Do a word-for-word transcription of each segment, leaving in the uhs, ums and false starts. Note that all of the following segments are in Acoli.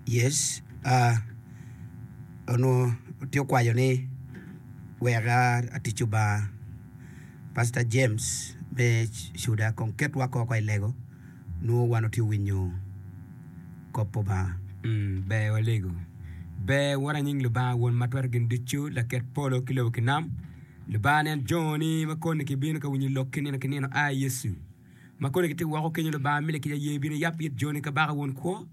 Yes, onongo tye okwayo ni wek atic Lubanga Pastor James me Cuda kong ketwa koko i lego nongo wan watye winyo kop pa Lubanga. Ber walego. Ber wot anying Lubanga Won ma twero gin ducu, laket polo ki lobo ki nam. Lubanga nen joni ma koni gibino ka winyo lokki nino ki nino, ai Yecu. Ma koni gitye woko kenyo Lubanga mi lakica ye bino yab it joni Kabaka Won Kwo,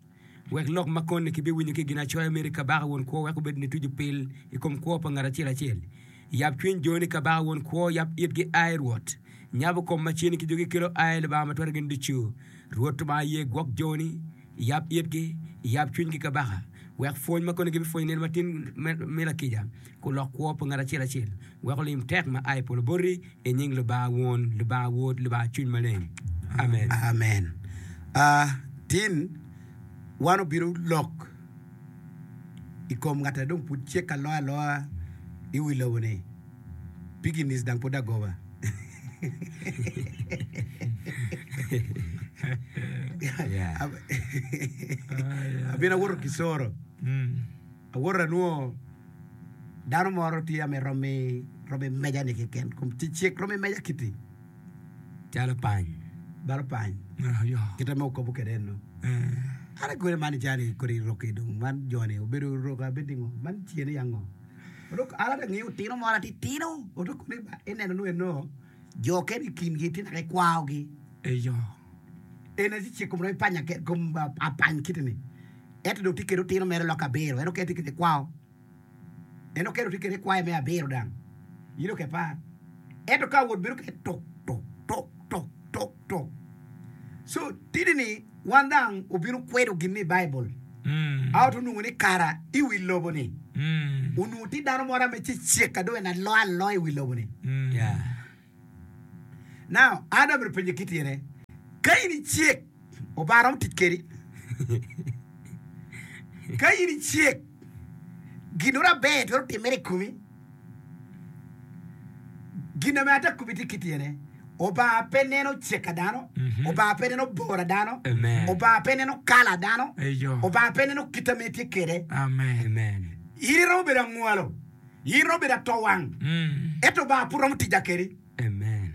wek lok ma koni kibiwinyo ki i Ginacoya meri Kabaka Won Kwo wek obed nituco pil i kom kwo pa ngat acel acel. Yab cwiny joni Kabaka Won Kwo, yab itgi ai Rwot. Nyabo kom ma ceni ki jogi kelo ai Lubanga ma twero gin ducu. Rwot Lubanga ye gwok joni, iyab itgi, iyab cwinygi Kabaka, wek pwony ma koni gibipwonyo nino matin me lakica kulok kwo pa ngat acel acel, wek olim tek ma a i polo boti, i nying Lubanga Won, Lubanga Wod, Lubanga Cwiny Maleng. Amen. Amen. Uh, tin wan obino lok i kom ngat a dong pud cek aloa aloa i wi lobo ni piginis dang pud agoba. Yeah. Abino awoto Kisoro. Awoto anwongo dano moro tye ame romi romi meja ni keken kom cecek romi meja kiti Calo pany. balo pany kite ma okobo kwede eno. An akwede man calo kodi roki dong man joni obedo rok abed ni ngo man cene ya ngo Odok an ata ngiyo otino moro atitino odok kone ba ineno nu eno jo kene i kingi tye naka ikwaogi Eyo. en aye cek kom romi panya ke kom apany kiti ni ento dong tye kede otino mere loka abiro en okene tye kede kwao en okene tye kede kwaye me abiro dang in oke par ento ka awot bedo kede tuk tuk tuk tuk tuk tuk so tidi ni wan dang obino kwedo gin ni i Baibul a oto onwongo ni kara i wi lobo ni onwongo tye dano moro ame cecek dong en aloa aloa i wi lobo ni Yeah. Now, an amito penye ki tyene, ka in icek, Obanga romo tic kedi? Ka in icek, ginoro aber twero timere i komi? Gin ame ata komi tye ki tyene, Obanga pe neno cek a dano, Obanga pe neno bor a dano, Amen. Obanga pe neno kala a dano, Eyo. Obanga pe neno kit ame itye kede. Amen. Amen. In iromo bedo angwalo, in iromo bedo atowang, ento Obanga pud romo tica kedi. Amen.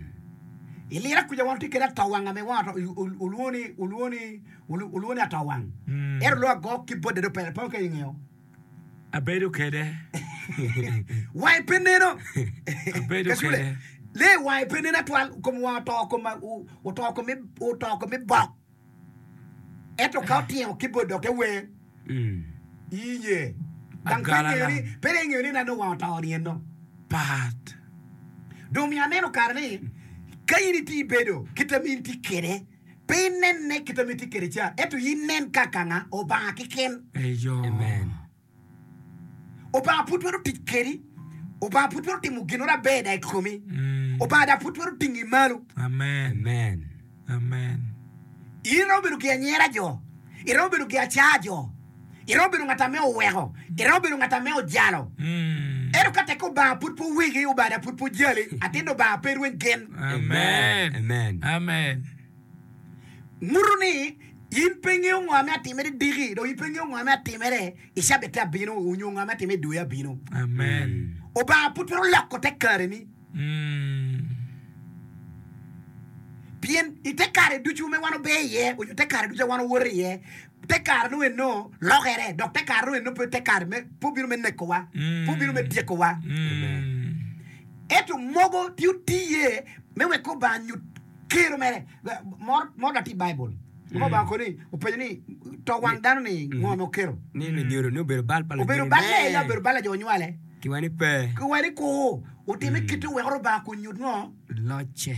I lira kuca wan watye kede atowang ame wang ato olwongo ni olwongo ni olwongo ni atowang. Ento olwongo agok ki bode dong pere pe ka ingeyo. Abedo kede. Wange pe neno. Abedo Kasule, kede. Lee wange pe neno atwal, kom wange oto kom oto kom oto kom ibok. Ento ka otingo keyboard dok te wer, iye. Dang pe ingeyo ni, pe dong ingeyo ni nano wang oto ni eno. Pat. Dong omiyo aneno kare ni, ka in itye ibedo kit ma in itye kwede, pe inenne kit ma itye kwede ca, ento in nen kaka nga? Obanga keken. Eyo. Amen. Obanga pud twero tic kedi. Obanga pud twero timo gin moro aber da i komi. Obanga da pud twero tingi malo. Amen. Amen. Amen. In iromo bedo gi anyera jo. Iromo bedo gi aca jo. Iromo bedo ngat ame oweko. Iromo bedo ngat ame ojalo. Ento ka tek Obanga pud pe oweki, Obanga da pud pe ojali, atin Obanga pe rweny gen. Amen. Amen. Amen. Nguto ni in pe ingeyo ngo ame atimere diki, dok in pe ingeyo ngo ame atimere i cabit abino, onyo ngo ame atimere i dwe abino. Amen. Obanga pud twero loko te kareni. Mm. Pien i te kare ducu me wan ober iye, onyo te kare ducu a wan owoto iye, te kare nongo eno lokere, dok te kare nongo eno pe te kare me, pe obino me nekowa, pe obino me tyekowa. Mm. Ento mogo tye otiye me wek Obanga nyut kero mere. Moro moro dok tye i Baibul. Ma Obanga koni openyo ni to wang dano ni ngo ma okelo. Ni lunyodo ni obedo bal pa Obedo lunyodo balle ne. ya obedo bal pa jo onywale. Kiwa ni pe. Kiwa ni kur otime kite wek Rubanga kunyut ngo? Locce.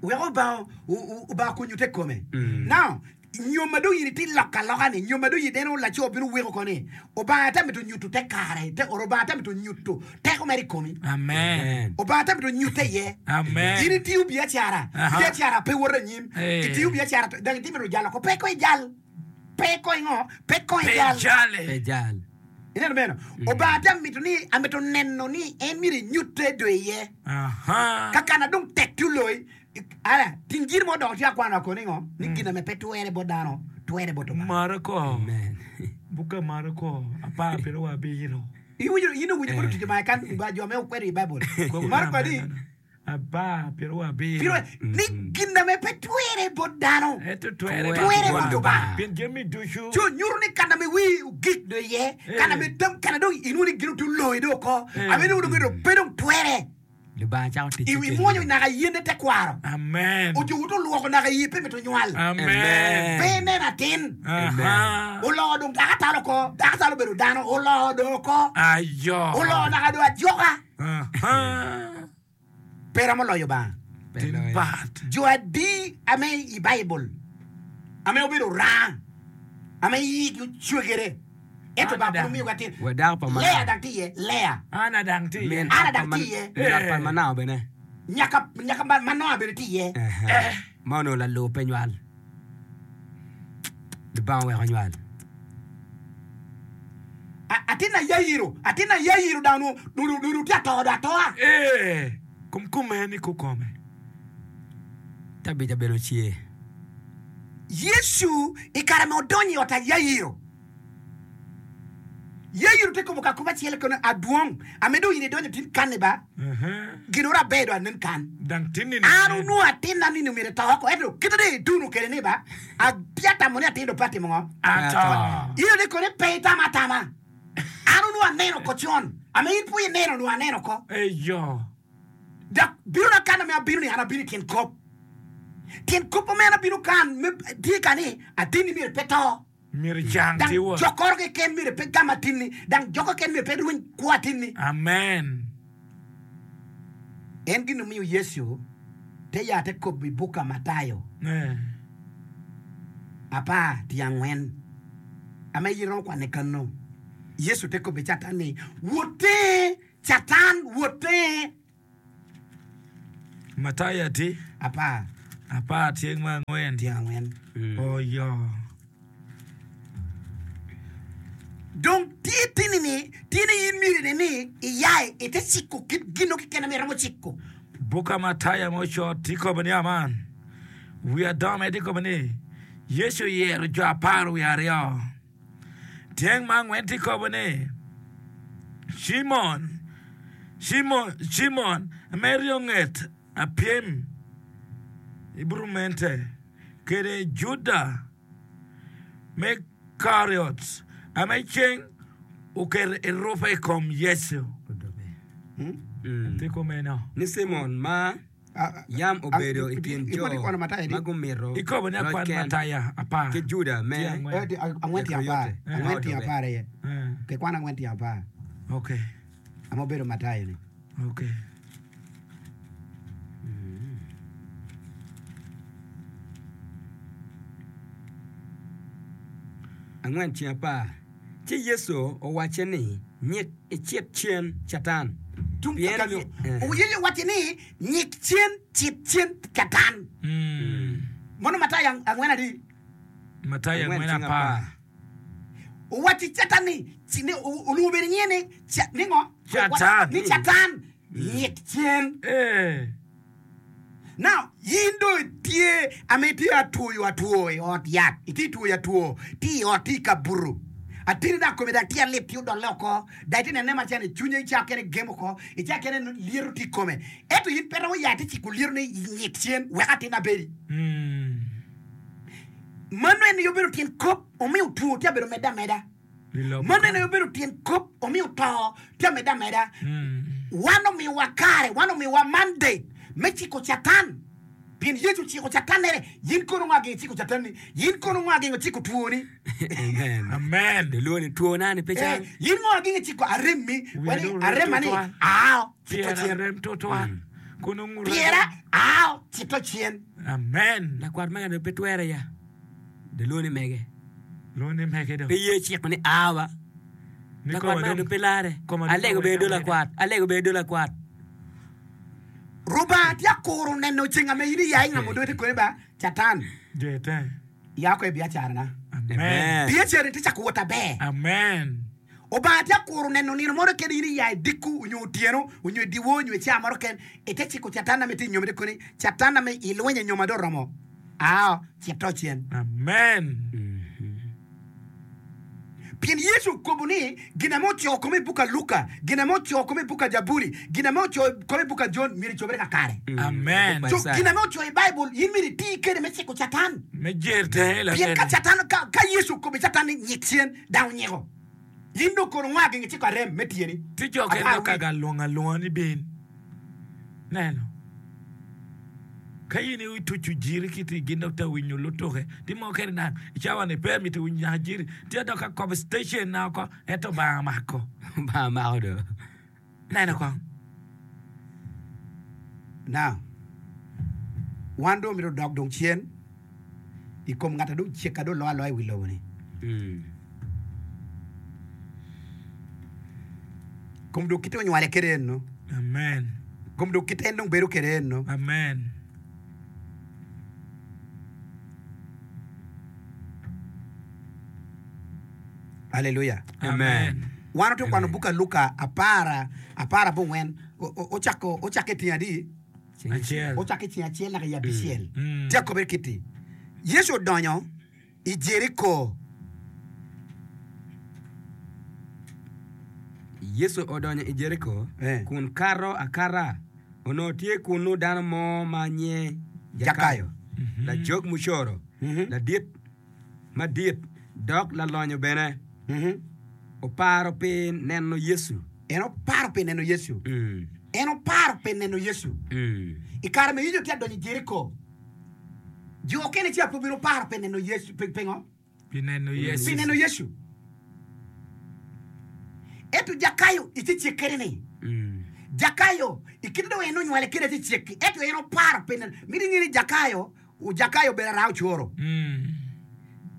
Wek Obanga Obanga kunyute i kome. Now, nyo ma dong in itye loko aloka ni, nyo ma dong in ineno laco bino weko ko ni, Obanga te mito nyuto te kare, te or Obanga te mito nyuto teko mere i komi. Amen. Obanga te mito nyute iye. Amen. In itiyo biacara, Aha. biacara pe woto anyim. Eh. Itiyo biacara, dong itye mito jalo ko, pe ko ijal. Pe ko ingo, pe ko Pe ijal. jale. Pe jal. Ineno meno? Obanga te mito ni, amito neno ni en myero enyutte do iye. Aha. Ka kana dong tek tye oloyi, Ara, ting jiri mo dok tye akwano ako ni ngo? Ni gin ame pe twere bot dano, twere bot Obanga. Mara ko. Amen. Buka Marako apar pyeraryo wiye abiro. Iwinjo in owinjo kono tic ma kan ba jo me okwedo i Baibul. Marako adi? Apar pyeraryo wiye abiro. Pyeraryo ni gin ame pe twere bot dano. Ento twere Twere bot Lubanga. Pien jami ducu. Co nyuto ni kana me wi ogik do iye, kana me tam kana dong inwongo ni gin otu loyi do oko. Ame dong dong pe dong twere. Lubanga cako tic I ki imwonyo naka yene tekwaro. Amen. Ojuko to lwoko naka iye pe mito nywal. Amen. Pe ineno atin. Aha. Oloo dong dako atalo oko. Dako atalo obedo dano. Oloo dong oko. Ayo. Oloo naka dong ajoka. Aha. Pe romo loyo Banga. Tin bat. Jo adi ame i Baibul ame obedo rang ame iyigi ocwegere ento Banga pud omiyogi atin. Wa dako pa Lea Manao. dang tye iye. Lea. Ana dang tye iye. Min Ana ot pa dang Man- tye iye. min ot pa Manao bene. Nyaka nyaka ma- Manoa bene tye iye. Aha. Ma onongo lalur pe nywal. Lubanga oweko nywal. A- Atin a Yairo, atin a Yairo dang onongo onongo onongo tye ato do atoa. Eh, kom kome ni kukome. Tabita bene ocer. Yecu i kare ma odonyo i ot a Yairo, Yairo tye kobo ka kobo acel kono adwong ame dong in idonyo tin kanni ba gin oro aber do anen kan. Dang tinni ni An onongo atinna ni myero ito oko ento kite dong iduno kede ni ba apia tamo ni atin dong pe atimo ngo. Ato. Ino ni kone pe itamo atama. An onongo aneno oko con ame in pud ineno onongo aneno oko. Eyo. Dok bino na kan ame abino ni an abino i tyen kop. Tyen kop ame an abino kan me tye ka ni atinni myero pe to. Myero icang Dang ti wa. jokoro keken myero pe gam atinni. Dang joko keken myero pe rweny kwo atinni. Amen. En gin omiyo Yecu te ya te kobo i buk a Matayo Eh. apar tye angwen ame in iromo kwane kano. Yecu te kobo i Catan ni, Wote, Catan, wote! Matayo ati Apar apar tyeng me angwen. tye angwen. Oyo. Dong tye tini ni, tye ni in myero ine ni iya ite ciko kit gino keken ame iromo ciko. Buka Matayo ma ocot tye kobo ni aman. Wi adome tye kobo ni Yecu oyero jo apar wiye aryo. Tyeng me angwen tye kobo ni Cimon, Cimon, Cimon ame eryo nget apyem i burumente kede Juda me Kariot ame ceng oketo erupe i kom Yecu. Tye kumeno. Ni Cimon ma yam obedo i kin jo ma gumito Ikobo ni loc akwan ken Matayo apar ki Juda me tye angwen. Angwen tye apar. Keriote. Angwen tye apar aye. Eh, Kikwan angwen tye apar. okay, Ame obedo Matayo ni. okay. Angwen ceng apar. Ci Yecu owacce ni, Nyik icit cen, Catan. Tung Pien kakanyo. eh, Yecu owacce ni, Nyik cen, cit cen, Catan. Mm. Mono Matayo ang- angwen adi? Matayo angwen angwen ceng apar. apar. Owacci Catan ni, ci- ni o- olwongo bene nyinge ni, Ca- ni ngo? Catan. Ni Catan. Nyik cen. Eh, Now, in dong itye ame itye atwoyo atwo i ot yat, itye twoyo atwo, tye i ot, tye i kabuto. Atini dok kome dok tye alip tye odolle oko, dok itye nene macalo ni cwinye icako kene gemo oko, icako kene lyeto tye i kome. Ento in pe romo ya ite ciko lyeto ni nyik cen wek atin abedi. mm. Mano en aye obedo tyen kop omiyo two tye abedo medde ameda. I lobo Mano en ka. aye obedo tyen kop omiyo to tye amedde ameda. Mm. Wan omiyowa kare, wan omiyowa mandate me ciko Catan. Pien Yecu ociko Catan nere, in kono ngo agengo ciko Catan ni? In kono ngo agengo ciko twoni? Amen. Amen. Lwongo ni two nani pe Eh, cang. in ngo agengo ciko aremmi? Wiya Wani dong rem aremma ni tutwal. ao cito Pyera cen. rem tutwal. Kun onguro. Pyera ao cito cen. Amen. Lakwat mega dong pe twere ya. Lwongo ni mege. Lwongo ni mege dong. Pe ye ciko ni awa. Ni Lakwat koma mega dong- dong pe lare. koma dong Alego bene do wek lakwat. Alego bene do lakwat. Rubanga tye akuro neno ceng ame in iya ingamo dote kone ba Catan. Jete. Ya ko e biacara na. Amen. Amen. Biacara tye cako wot aber. Amen. Obanga tye akuro neno nino moro kene in iya i dikku onyo otyeno onyo i dyewor onyo i caa moro keken ite ciko Catan ame tye i nyome te koni Catan ame ilwenyo i nyoma dong oromo ao cito cen. Amen. Pien Yecu okobo ni gin ame ocoyo kome i buk a Luka, gin ame ocoyo kome i buk a Jabuli, gin ame ocoyo kome i buk a Jon myero icobere kakare. Amen. So gin ame ocoyo i Baibul in myero iti kede me ciko Catan. Me jer tenge Pien ka lakene. Catan ka, ka Yecu okobo i Catan ni nyik cen, dang onyiko. In dong kono ngwa gin giciko arem me tyeni. Ti jo kene Apar dok ka wic. galwongo alwonga ni bin. Neno. Ka in ituco jiri kiti gin dok ta winyo lutuke ti mo kene nang i cawa ni pe mito winyo nyaka jiri ti adok ka kobo station na oko ento Obanga mako. Obanga mako do. Neno kong. Now, wan dong omito dok dong cen i kom ngat a dong cek a dong oloyo aloya i wi lobo ni. Kom dong kite onywale kede eno. Amen. Kom dong kite en dong bedo kede eno. Amen. Aleluya. Amen. Wan watye kwano buk a Luka apar apar abongwen ocako ocakke i tyeng adi? Acel. Ocakke i tyeng acel naka i abicel. Mm. Tye akobere kiti. Yecu odonyo i Jeriko. Yecu odonyo i Jeriko Eh. kun kato akata. Onongo tye kunnu dano mo ma nyinge Jakayo. Jakayo, lajog mucoro, Mhm. ladit madit, dok lalonyo bene. Mhm. Oparo pi neno Yecu. En oparo pi neno Yecu. Mm. En oparo pi neno Yecu. Mm. I kare ma Yecu tye adonyo i Jeriko, jo okene ci ape obino paro pi neno Yecu. Pi- Pingo? Pi neno Yecu. Pi neno Yecu. Ento Jakayo i ci cikkere ni, Mm. Jakayo i kite dong en onywale kede ci cikki, ento en oparo pi neno. Miti inge ni Jakayo, Jakayo obedo ara ocoro. Mm.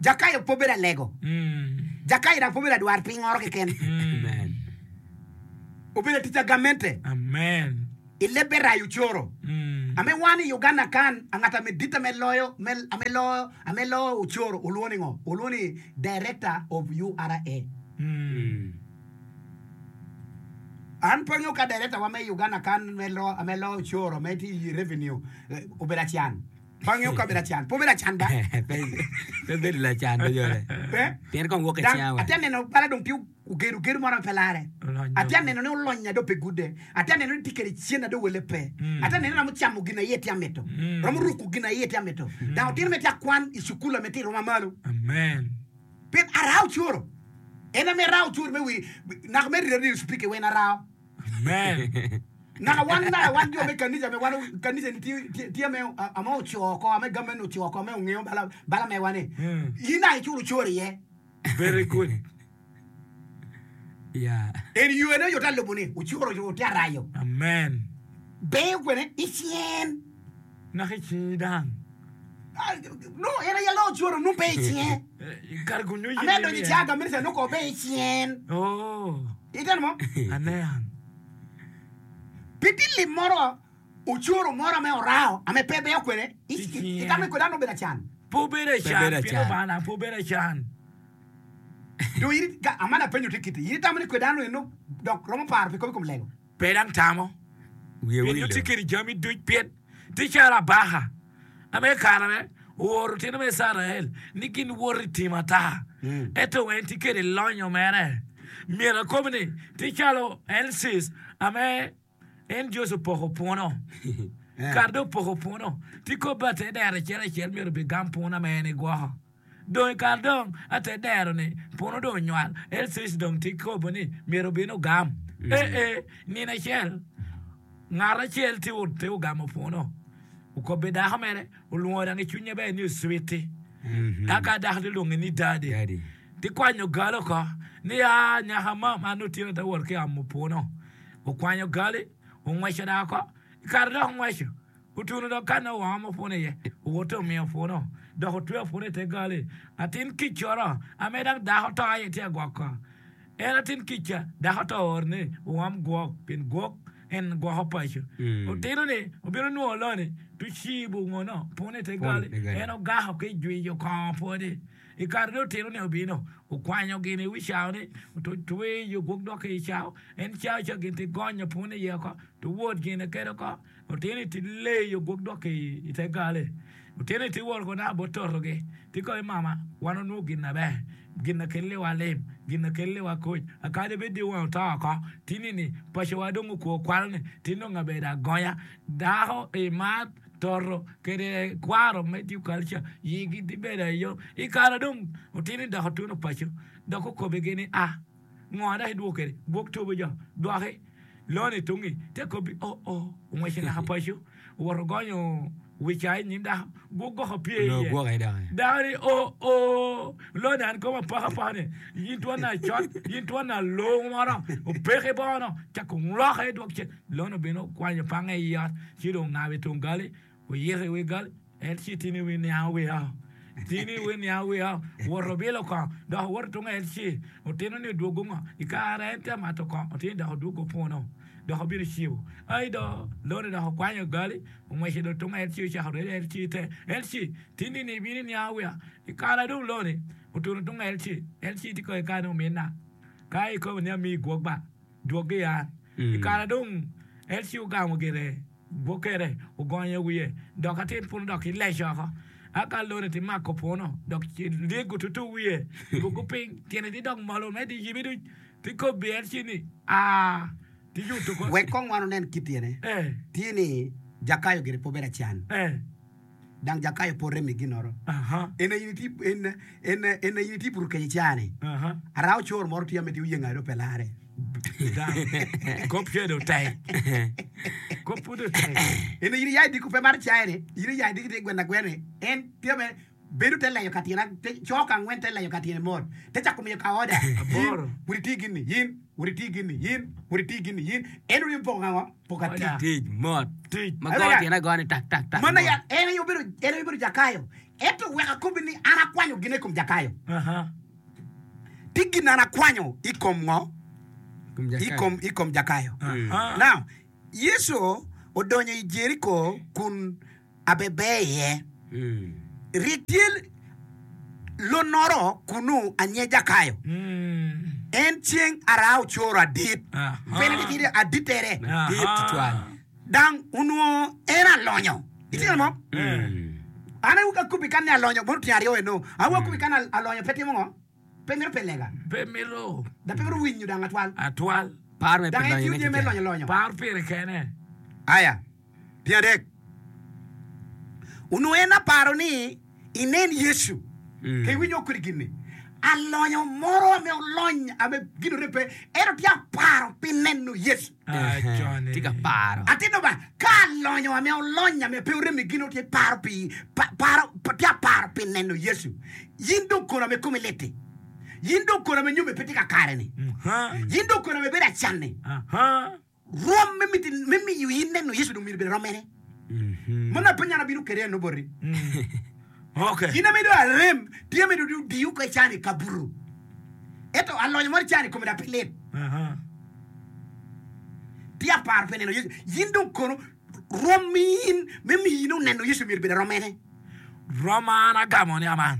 Jakayo pe obedo alego. Mm. Jakayo dok pe obedo adwar piny-ngoro keken. Amen. Obedo atic a gamente. Amen. I lebbe rayo ocoro. Mm. Ame wan i Uganda kan, angat ame dit ame loyo, me, ame loyo, ame loyo ocoro olwongo ni ngo? Olwongo ni Director of U R A. Mm. An pe angeyo ka director wa me Uganda kan me lo, ame loyo ocoro me tye i revenue eh, obedo acan. Pe angeyo ka obedo acan. Pe obedo acan ba? Pe pe bedo lacan pe jole. Pe? Pien kong wok i Dang, cinga wa. atye neno bala dong tye ogedo gedo moro ma pe lare. Olonyo. Atye neno ni olonya dong pe gude. Atye neno ni tye kede cen na dong wele pe. Mm. Atye neno ni romo camo gin aye tye amito. Mm. Romo ruko gin aye tye amito. Dang otino me tye akwan i cukul ame tye i rwom amalo. Amen. Pien arao coro. En ame rao coro me wi naka me radio speaker wen arao. Amen. Naka wan naka wan jo me kanisa me wan kanisa ni tye tye tye ame ame oco oko ame government oco oko ame ongeo bala bala mewa ni. Mm. In naka iculo coro iye. Very good. Yeah. En yo ene oyuta lubo ni ocoro ote arayo. Amen. Beyo kwene i cien. Naka i cingi dang. Ah, No, en aye lo ocoro nu pe i cien. Eh, Kar gunyu Ame donyo i caga minista nu ko be i cien. Oh. Iteno mo? Aneang. Pi ti lim moro ocoro moro ame orao ame pe beyo kwene i I cien. itamo ni kwede an obedo acan. Pe obedo Pe obedo acan. Pien acan. Obanga pe obedo acan. Do in ka amana apenyo ti kiti. In itamo ni kwede an eno dok romo paro pi kobi kom lego. Pe dang tamo. Wiye Pien wilo. tye kede jami duc pien tye calo abaka ame kare me ooro tino me Icrael ni gin wot i tim ata. Ento en tye kede lonyo mere. Myero akobi ni tye calo Elsis ame en Joseph opoko puno. Kare dong opoko puno tye kobi ate dero acel acel myero obigam puno ame en egwoko. Dong i kare dong ate dero ni puno dong onywal Elsis dong tye kobo ni myero obin ogam. Eh eh nino acel ngat acel tye tye ogamo puno okobo dako mere olwongo dang i cwinye ber ni oswiti. Aka dako tye lwonge ni daddy. Daddy. Tye kwanyo gal oko ni a nyaka mam an otyeno te wot ki amo puno. Okwanyo gali ongweco dako oko. I kare dok ongweco otuno dok ka nongo oamo puno iye owoto omiyo puno dok otweyo puno i te gali. Atin kic coro ame dang dako to aye tye agwoko. En atin kic ca dako to ooro ni oam gwok pien gwok en gwoko paco. Mm. Otino ni obino nwo loni tu cibo ngono puno i te Puno gali i te gali. en ogako ki jwiyo kongo pwodi. I kare dong otino ni obino okwanyo gin i wi cao ni otweyo gwok dok ki i cao en cao ca gin ti gonyo puno iye oko tu wot gine kede oko otino ti leyo gwok dok ki i te gali. Otino ti wor ko na bo torogi. Ti ko mama wan onwo gin na ber. Gin na kelli wa lim, gin na kelli wa koc. Akadi bed di wang oto oko. Tini ni paco wa dong okwo kwalo ni ti nongo abedo agonya. Dako i mar toro kede kwaro me tiyo kalca yigi ti bedo ayo. I kare dong otini dok otuno paco dok okobigi ni a ngo dok idwoko kede gwok tobo jo dwoki loni tungi te kobi o o ongwece naka paco owoto gonyo wica i nyim dako gwok goko pye Onongo iye gwoke doki. dako ni o o loni an koma poko apoka ni in twon na cot in twon na long moro opeke bono cako ngloke dwok cen loni obino okwanyo pange i ot ci dong ongabo i tung gali oyito i wi gali en ci tini wi niango wiya tini wi niango wiya woto bilo kongo dok owoto tung el ci otino ni odwogo ngo i kare en tye mato kongo otino dok odwogo puno dok obino cibo ai do loni dok okwanyo gali ongwece do tung el ci ocako redo el ci te el ci tini ni ibino niango wiya i kare dong loni otuno tung el ci el ci tye ko i kare ni ominna ka ikobo ni amiyi gwok ba dwoggi an i kare dong el ci ogamo gire gwokere ogonyo wiye dok atin puno dok ileco oko aka loni ti mako puno dok lyego tutu wiye dwogo piny tyene ti dok malo me ti yibi duc ti kobi el ci ni a ti yuto ko Wek kong wan onen kit tyene. eh Tye ni Jakayo gire pe obedo acan. eh Dang Jakayo pe orem i ginoro. aha En aye in itye- en- en- en aye in itye puro kec icaa-ni. aha Arao coro moro tye ame tye oyengo aye dong pe lare. Dang kop cedo tek kop pud otek En in iya i diko pe mar cae-ni, in iya i diko tye gweno agwena-ni, en tye me bedo te leyo ka tyene, te co ka angwen te leyo ka tyene mot, te cako miyo ka oda. Yin, Aboro. wot iti gin-ni, yin, wot iti gin-ni, yin, wot iti gin-ni, yin. En oryo poko ka ngo? Poko atic. Oda. Tic mot. Tic. Ma Aye go ya. tyene agoya ni tak tak tak. Mano mot. ya, en aye obedo, en aye obedo Jakayo. Ento wek akobbi ni an akwanyo gin i kom Jakayo. aha Ti gin an akwanyo i kom ngo? Kom I Jakayo. kom, i kom Jakayo. aha Now, Yecu odonyo i Jeriko kun abebe iye. Mm. Rik tye lonoro kunu anye Jakayo. Mm. En ceng ara ocoro adit. Aha. Pene ni tye aditere. Madit tutwal. Dang onongo en alonyo. Itye ka mo? Mm. An aye akubi kan ni alonyo mono tyen aryo eno. Aye akubi kan al- alonyo pe timo ngo? Pe mito pe lega. pe mito Da pe mito winyo dang atwal. atwal Par me Dang en pe tiyo lonyo ne jami me keken. lonyo lonyo. par pire kene Aya, tyen adek. Onongo en aparo ni inen Yecu. Mm. Ke iwinyo kodi gin-ni. Alonyo moro ame olony ame gin orepe ento tye aparo pi neno Yecu. Acone. Tye ka paro. Atino ba ka alonyo ame olony ame pe oremi gin tye paro pi pa, paro pa- tye aparo pi neno Yecu. Yin dong kono ame komi lit-ti. Yin dong kono ame nyome pe tye kakare-ni. Aha. Yin dong kono ame bedo acan-ni. Aha. Rwom me miti me miyo in neno Yecu dong myero obed rom mene. Mhm. Mano apenyo an abino kede eno boti. Okay. In ame dong arem tye ame dong odiyo ka ican i kabuto. Ento alonyo moro ican i kome dok pe lit. Aha. Tye aparo pi neno Yecu. Yin dong kono rwom in me miyo in oneno Yecu myero obed rom mene. Roma an agamo ni aman.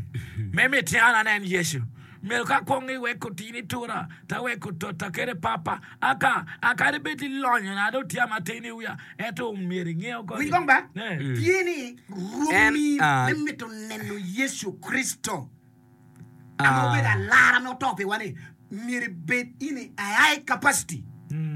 Me miti an anen Yecu. Myero ka kwong iweko tini tura, ta weko tota kede papa. Aka, akadi bed ilonyo na dong tye matin i wiya. Ento myero ingeo koni. Winj kong ba? Eh. Tye ni rwom En, in ah, me mito neno Yecu Kricito ame Ah. obedo alara me oto piwa ni myero ibed in a high capacity.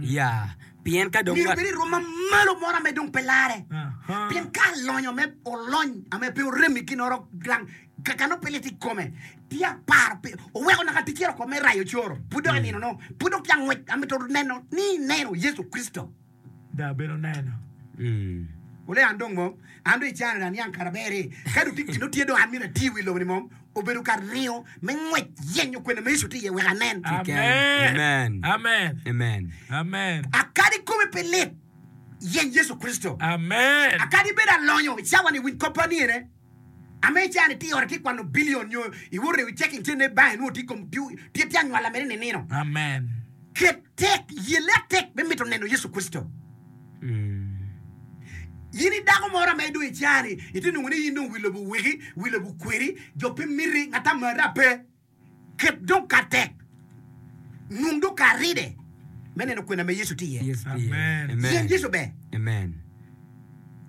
Ya. Pien ka dong Myero ngat ibed i rwom mamalo moro ame dong pe lare. Aha. Pien ka alonyo me olony ame pe oremi ginoro gang kakano pe lit i kome tye aparo pi oweko naka ticere oko me rayo coro pud dok i nino no pud dok tye angwec amito neno ni ineno Yecu Kricito. Da bedo neno. Mm. Ole an dong mo an dong icano aniang kara ber-ri ka dong tye gin tye dong an myero ati i wi lobo ni mo obedo ka ringo me ngwec yenyo kwene ma Yecu tye iye wek anen. Keken. Amen. Amen. Amen. Amen. Amen. Akadi kome pe lit yeny Yecu Kricito. Amen. Akadi bedo alonyo i cawa ni winj koppa ni ene ame icano itye i ot itye kwano bilion nyo iwoto i checking cene bank inwongo tye i kom tye tye anywala mere ninino. Amen. Ket tek yelle atek me mito neno Yecu Kricito. Mm. In i dako moro ame dong icani itye nongo ni in dong wi lobo oweki wi lobo okweri jo pe miti ngat amara pe ket dong ka tek nwong dong ka ride me neno kwena me Yecu tye iye. Yes, tye. Amen. Amen. Yen Yecu ber. Amen.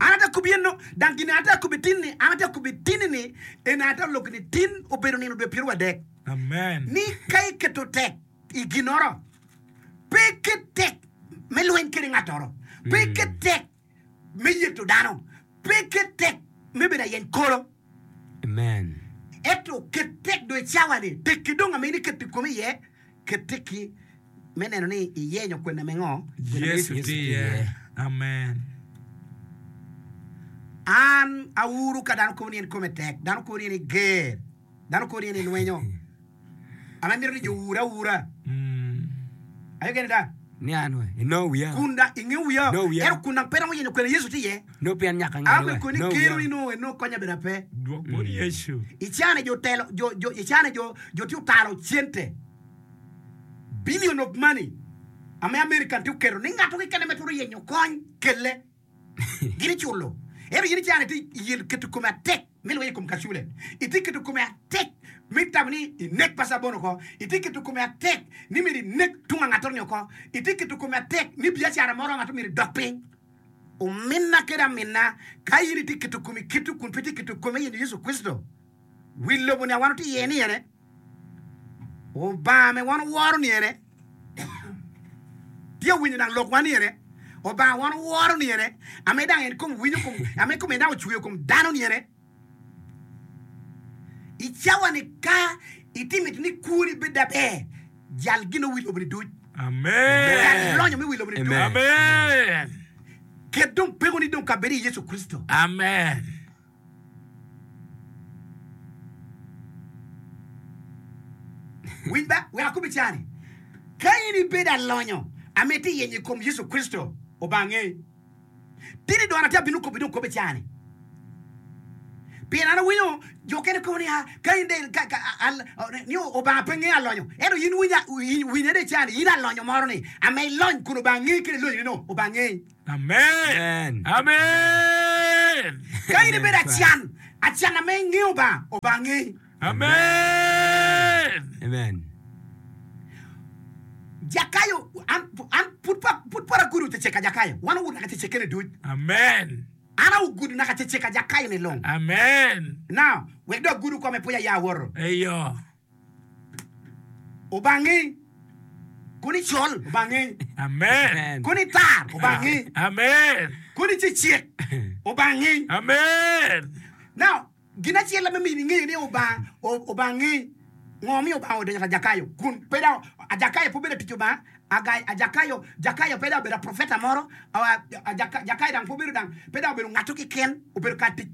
An ate akobi eno, dang gin ate akobi tin ni, an ate akobi tini ni, en ate olok ni tin obedo nino dwe pyeraryo adek. Amen. Ni ka iketo tek i ginoro, pe iket tek me lweny kede ngatoro, pe iket tek me yeto dano, pe iket tek me bedo ayeny kolo. Amen. Ento ket tek dong i cawa-ni, tekki dong ame in iketo i komi iye, ket tekki me neno ni iyenyo kwena me ngo? Kwena me Yecu Yecu. tye iye. Amen. An auru ka dano kobo ni en kome tek, dano kobo ni en iger, dano kobo ni en ilwenyo. An amito ni jo oure aura. Mm. Aye kene da. Ni an we, inongo wiya. Kun da ingeyo wiya. No wiya. Ento kun dang pe romo yenyo kwena Yecu tye iye. No pien nyaka An ngene bene we. koni No kero wiya. ni nongo en nongo konya bene pe. Dwok bot Yecu. Icane jo telo, jo, jo, icane jo, jo tye otalo cente. Billion of money ame American tye oketo ni ngato kekene me twero yenyo kony kelle. Gin iculo. Ento in icane itye i keto kome atek me lweny i kom kacule. Itye keto kome atek me tamo ni inek Pastor Abono oko. Itye keto kome atek ni myero inek tung angatoro-ni oko. Itye keto kome atek ni biacara moro angato myero idok piny. Ominna kede aminna, ka in itye keto komi kit-tu kun pe itye keto komi me yenyo Yecu Kricito, wi lobo-ni a wan watye iye ni ene, Obanga me wan oworo ni ene, tye winyo dang lokwa ni ene, Obanga wan oworo ni ene, ame dang en kom winyo kom, ame kome dang ocweyo kom dano ni ene. I cawa ni ka itye mito ni kwoni bed aber, jal gin wi lobo ni duc. Amen. Jal lonyo me wi lobo ni duc. Amen. Amen. Ket dong pekoni dong kabedo i Yecu Kricito. Amen. Winj ba, wek akob i caa-ni, ka in ibedo alonyo ame itye yenyo i kom Yecu Kricito, Obanga ngeyi. Tidi dong an atye abino kobi dong kob i caa-ni. Pien an awinyo jo okene kobo ni, ah, ka in dong, ka, ka, al, ni Obanga pe ngeyo alonyo. Ento in winya, winya dong i caa-ni, in alonyo moro ni, ame ilony kun Obanga ngeyi kede ilonyoni-nu, Obanga ngeyi. Amen. Amen. Amen. Ka in ibedo acan, acan ame ingeyo Obanga, Obanga ngeyi. Amen. Amen. Jakayo, an, an pud pa, pud pora gudo cecek ka Jakayo. Wan owuto naka cecek kene duc. Amen. An awugudo naka cecek ka Jakayo ni long. Amen. Now, wek dong agudo kome pwony aya awoto. Eyo. Obanga ngeyi. Kono icol, Obanga ngeyi. Amen. Kono itar, Obanga ngeyi. Amen. Kono icecek, Obanga ngeyi. Amen. Now, gin acel me miyo ingeyo ni Obanga, Obanga ngeyi. Ngo miyo Obanga odonyo ka Jakayo? Kun pe dok Jakayo pe obedo atic Obanga, Jakayo, Jakayo pe dok obedo aprofeta moro, Jakayo dang pe obedo dang, pe dok obedo ngato keken, obedo ka atic,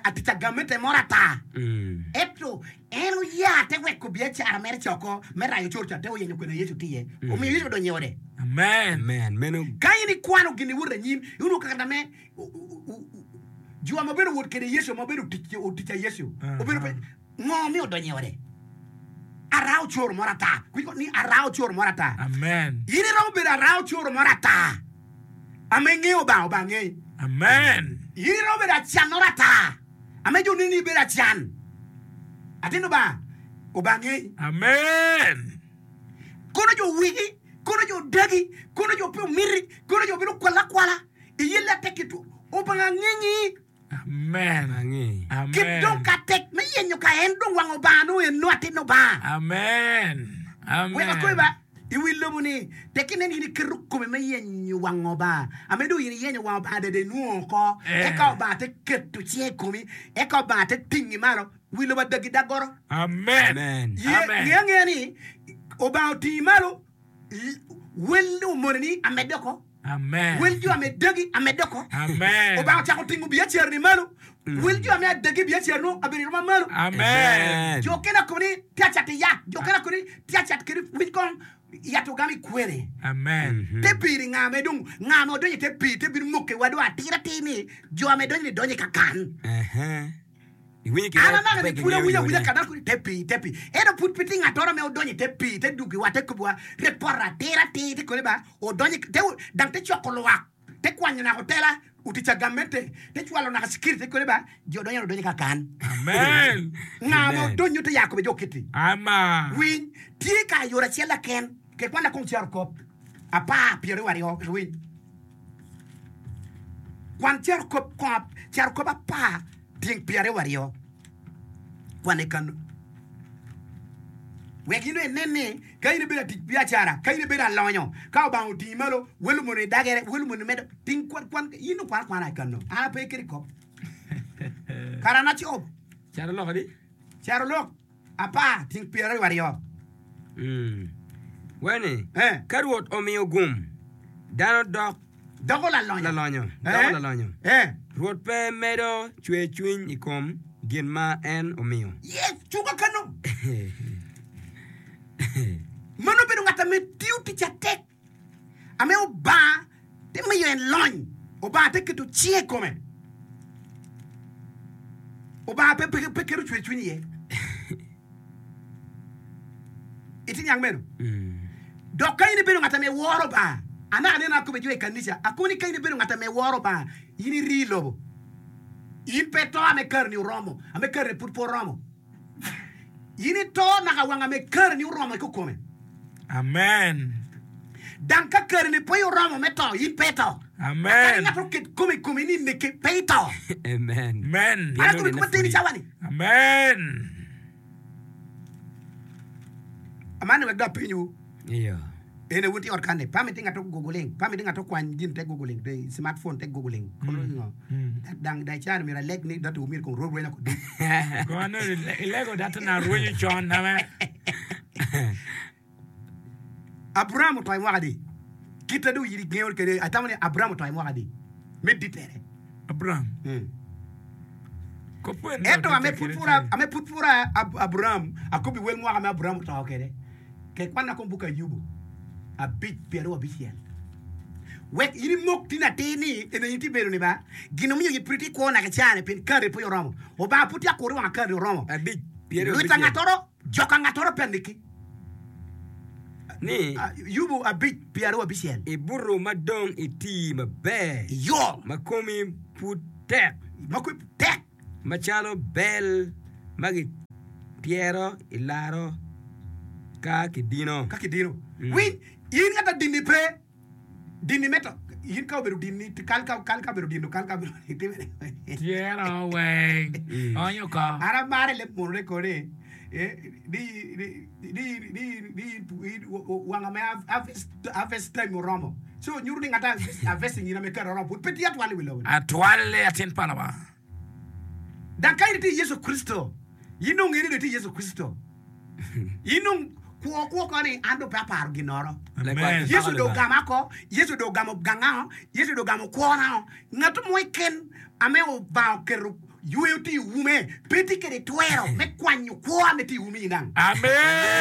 atic agamete moro ata. Ento en oya te weko biacara mere ca oko me rayo cor ca te oyenyo kwena Yecu tye iye. Omiyo Yecu odonyo i ode. Amen. Amen. Meno Ka in ikwano gin iwoto anyim, inongo kare me jo ma obedo wot kede Yecu ma obedo otic a Yecu obedo pe ngo mi odonyo i ode? Ara ocoro moro ata. Winjo ni ara ocoro moro ata. Amen. In iromo bedo ara ocoro moro ata ame ingeyo Obanga, Obanga ngeyi. Amen. In iromo bedo acan moro ata ame jo neni ni ibedo acan. Atin Lubanga, Obanga ngeyi. Amen. Kono jo wigi, kono jo dagi, kono jo pe omiti, kono jo bino kwala akwala, iye lette ki two. Obanga ngengi. Amen. Ange. Amen. Kit dong ka tek me yenyo ka en dong wang Obanga nongo en nongo atin Obanga. Amen. Amen. Wek akoyi ba, i wi lobo ni, tek inen in iketo komi me yenyo wang Obanga, ame dong in iyenyo wang Obanga dada inwongo oko, Eh. eka Obanga te keto cinge i komi, eka Obanga te tingi malo. Wi lobo adagi dag goro. Amen. Amen. Ye, Amen. nge angeya ni, Obanga otingi malo, l- wel omone-ni amedde oko. Amen. Wel jo ame dagi amedde oko. Amen. Obanga ocako tingo biacara-ni malo. Wel jo ame adagi biacara-nu abedo i rwom malo. Amen. Jo okene akobo ni tye acato yat. Jo okene akobo ni tye acato kede winy kong yat ogamo i kwene. Amen. Te pii-ni nga me dong nga ma odonyo i te pii te bino moke wa dong atir atir ni jo ame donyo ni donyo i kakan. Ehe. Iwinyo ki An anaka pe ni pud kingeyo awinyo yone. awinya ka dano koni te pii te pii. Ento pud pe tye ngatoro me odonyo i te pii te dugiwa te kobiwa report atir atir te koni ba odonyo i te dang te coko lwak te kwanyo naka otela otic agamente te cwalo naka security te koni ba jo odonyo odonyo i kakan. Amen. Nga ma Amen. odonyo te ya kobe jo kiti. Ama. Winy tye ka yore acel laken ke kwan lakong caro kop apar pyeraryo aryo winy. Kwan carokop kong carokop apar tyeng pyeraryo aryo. Kwane kanu. Wek in dong inen ni ka in ibedo atic biacara, ka in ibedo alonyo, ka Obanga otingi malo, wel omoni idagere, wel omoni medo, ting kwan, kwan, in dong kwan akwana i kanu. An ape kede kop. Kara an acob. Carolok adi? Carolok apar tyeng pyeraryo aryo. Mm. Weni, Eh. ka Rwot omiyo gum, dano dok Doko lalonyo. lalonyo, Eh. doko lalonyo. Eh. Rwot pe medo cwercwiny i kom gin ma en omiyo. Yes, cuka kanu. Mano obedo ngat ame tiyo tic atek, ame Obanga te miyo en lony, Obanga te keto cinge i kome. Obanga pe, pe, pe keto cwercwiny iye. Itye niang meno? Mm. Dok ka in ibedo ngat ame woro Obanga, anaka nene akobo jo i kanica, akoni ni ka in ibedo ngat ame woro Obanga, in iri i lobo. In pe ito ame kareni oromo, ame kareni pud pe oromo. In ito naka wang ame kareni oromo i kikome. Amen. Dang ka kareni pe oromo me to, in pe ito. Kadi Amen. ngat oket kome i komi ni neke, pe ito. Amen. Amen. An akobo i koma teni cawa-ni. Amen. Amani wek dong apenywu. Iyo. Ene wun tye i ot kan-ni, pe amiti ngat ogogoling, pe amiti ngat okwany gin te gogoling, the smartphone te gogoling. Kono ingo? Dang dang cani myero aleg ni dati wumyero kong rweny rwenya kod dul. Kono ilego dati na rwenyo con ame. Abraham oto i mwaka adi? Kite dong in ingeyo kede, atamo ni Abraham oto i mwaka adi? Me ditere. Abraham. Mm. Kopwen Ento ame pud pura, ame pud pura Ab- Abraham, akobi wel mwaka me Abraham oto kede. Ke kwanna kom buk Ayubu abic pyeraryo abicel. Wek in imok tin atir ni ene in tye bedo ni ba gin omiyo in pud itye kwo naka icane pien kare pe oromo. Obanga pud tye akuri wang kare oromo. Abic pyeraryo Lwita abicel. ngatoro, joka ngatoro pe aneki. Ni Yubu abic pyeraryo abicel. ibuto ma dong iti maber, Iyo. ma komi pud tek, Ma komi tek. macalo bel ma gityero i laro ka kidino. Ka kidino. Winy, in ngat a dini pe, dini me to, in ka obedo dini, kal ka, kal ka obedo dino, kal ka obedo itime. Tyero weng. Onyo ko. An amaro i leb munu kodi, eh, di, di, di, di, di, di, wanga me harvest, harvest time oromo. So nyuto ni ngat harvest nyina me kare oromo, pud pe tye atwal i wi lobo-ni. Atwalle atin pa Lubanga. Dok ka in itye i Yecu Kricito, in dong ingeyo ni dong itye i Yecu Kricito. In dong kwo kwo ko ni an dong pe aparo ginnoro. Amen. Yecu dong ogama oko, Yecu dong ogamo gangao, Yecu dong ogamo kwona. Ngat mo keken ame Obanga oketo yweyo tye i ume, pe tye kwede twero me kwanyo kwo ame tye i umi in dang.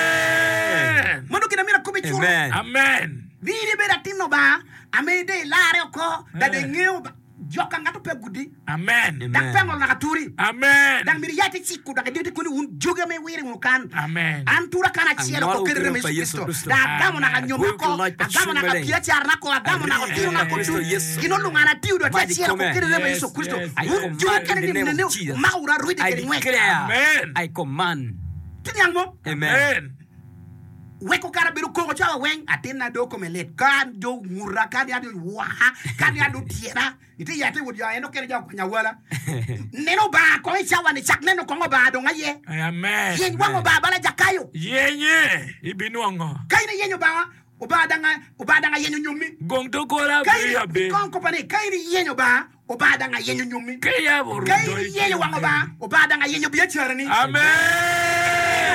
Amen. Mano gin amyero akob i curo. Amen. Amen. Ni in ibedo atin Lubanga, ame dong ilarre oko, dok dong ingeyo Jo ka ngato pe gudi. Amen. Dok pe ngolo naka turi. Amen. Dok myero iya te ciko dok idite koni wun jogi ame iwire wunu kan. Amen. An tura kan acel oko kede remo Yecu Kricito. Dok agamo naka nyoma oko, agamo naka biacarana oko, agamo naka otirona oko ducu. Gin olungo an atiyo dong atye acel oko kede remo Yecu Kricito. Wun jogi kene ni nene wumako wunu arwide kede ngwec. Amen. I command. Tye niang mo? Amen. Weko kara bedo koko cawa weng, atinna do kome lit, ka do nguta, ka ni ado waka, ka ni ado tyena, ite ya ite wot ya en okene ja okwanya awala. Neno Obanga kong i cawa ni, cak neno kong Obanga dong aye. Amen. Yeny wang Obanga bala Jakayo. Yenye ibinwongo. Ka in iyenyo Obanga, Obanga dang Obanga dang ayenyo nyommi. Gong doggola Ka in abiriyo abe. kong kopa ni, ka in iyenyo Obanga, Obanga dang ayenyo nyommi. Ka iyabo Ka in rudo iyenyo wang Obanga, Obanga dang ayenyo biacarani. Amen.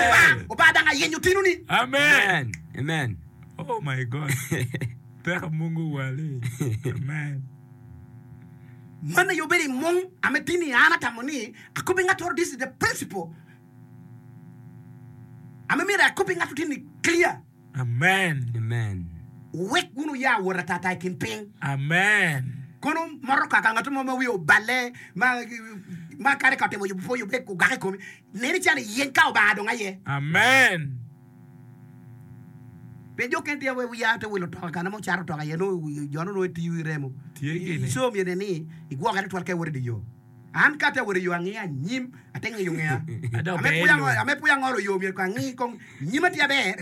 Obanga, Obanga dang ayenyo tinoni. Amen. Amen. Oh my God. Teko Mungu wali. Amen. Man aye obedo i mung ame tini an atamo ni akobi ngat oro this is the principle ame myero akobi ngat tini clear. Amen. Amen. Wek wun wuya wot atata i kin piny. Amen. Kono moro kaka ngat mo ma wiye oballe ma ma kadi ka otimo yubo pe oyubbe ogak i komi, neni calo iyeny ka Obanga dong aye. Amen. Pien jo okene tye wiya te wilo otoka kana mo cato otoka iye nongo jo-nu nongo itiyo i remo. Tye gini. Co myero nen ni igwokere twatwal ka iwoto i dye yo. An ka ate wot i yo angiya anyim, ate ngiyo ngeya. Adok Ame ber pwony lo. ango, ame pwony angolo yo myero kong angi kong nyima tye aber.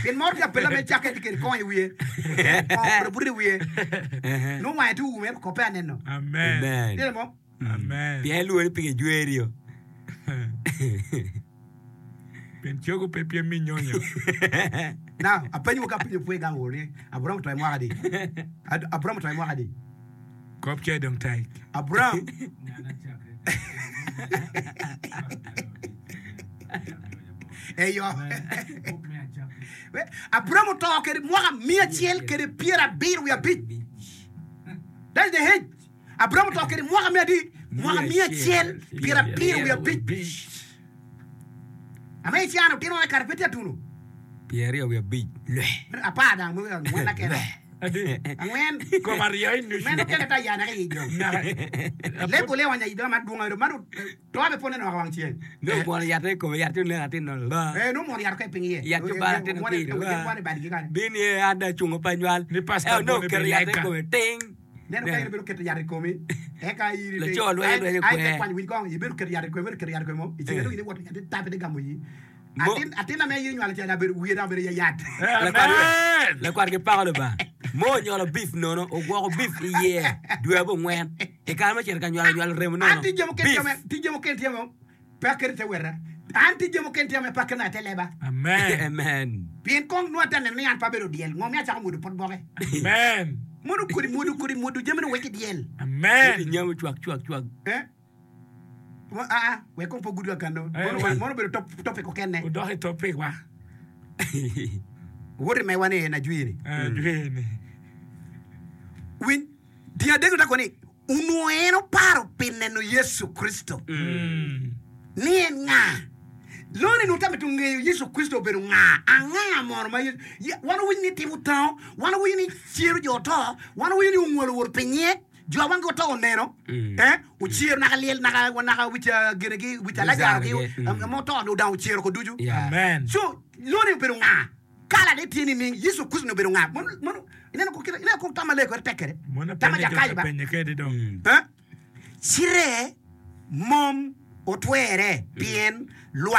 Pien moro tye apela me cakke tye kede kongo i wiye. Kongo obuto abuta i wiye. Nongo wange tye oume ento kope aneno. Amen. Amen. Tye mo? Amen. Pien ilwongo ni pigi jwerio. Pien cogo pe pyem mi nyonyo. Now, apenyo ka apenyo pwe gang woro ni Abraham oto i mwaka adi? Ad- Abraham oto i mwaka adi? Kop ce dong tek. Abraham eyo Abraham oto kede mwaka miya acel kede pyerabiro wiye abic. That is the age. Abraham oto kede mwaka miya adi? Mwaka miya acel pyerabiro wiye abic. Ame icano otino ne kare pe tye atuno. Pyeraryo wiye abic. Lwe. Apar dang mo angwen na kene. Adi. Angwen. Kom aryo i nucu. Meno kene ta yana ka i dong. Naka. Lebo le wanya i dong ma dwong ero mano to abe pone no wang ceng. Nongo omwono yat i kome, yat onek atin no la. Eh no mon yat ka i piny iye. Yat cubara atin Mone apir la. mone badgi kany. Bin ye an dong acungo pe anywal. Ni pastor Ento nongo bone oketo yat i bilega. kome ting. Neno ka in ibedo keto yat i komi, eka in Laco lwenyo lwenyo ai kwer. te kwany winj kong, ibedo keto yat i komi, ibedo keto yat i komi mo, i ceng dong in iwoto yat itape te gamo yi. Mo- Atin atin ame in inywalo ca abedo wiye dong abedo ya yat. Lakwat Amen. lakwat ki pako Lubanga. Mo onywalo beef nono, ogwoko beef i iye dwe abongwen. I kare me cito ka nywalo nywalo remo nono. An tye jami mukene Beef. tye ame- tye jami mukene tye ame pe aketo i te weta. An tye jami mukene tye ame pe aketo i te leba. Amen. Amen. Pien kong nongo ate neno ni an pe abedo dyel, ngo miyo acako mwodo pot boke? Amen. Mono kodi mwodo kodi mwodo jami ni wek i dyel. Amen. Nyamo cwak cwak cwak. Eh? Mo- ah, ah, wek kong pe ogud ka kano. Eh, Mono wa- mono obedo top- topic okene. Odok i topic wa. Woti mewa ni en ajwiri. Eh, jwini. Winy, tyen adek otako ni onongo en oparo pi neno Yecu Kricito Mm. ni en nga. Loni nongo tame to ngeyo Yecu Kricito obedo nga. Anga mono ma Yecu Ye- wan owinyo ni timo tango, wan owinyo ni cero jo oto, wan owinyo ni ongolo wot pinye, jo a wangi oto oneno, Mm. eh, ocero naka lyel naka naka wic ah, ginigi wic Alajaro ki Lazaro gi, mm. ma oto ni odang ocero ko ducu. Yeah. Amen. So, loni obedo nga. Kala ne tye nining Yecu Kricito ni obedo nga. Mono mono ineno ko kite ineno ko tama leko ere tek kede. Mono Tama penye jo jakayo ba. penye kede dong. Mm. Eh? Cire mom otwere pien lwak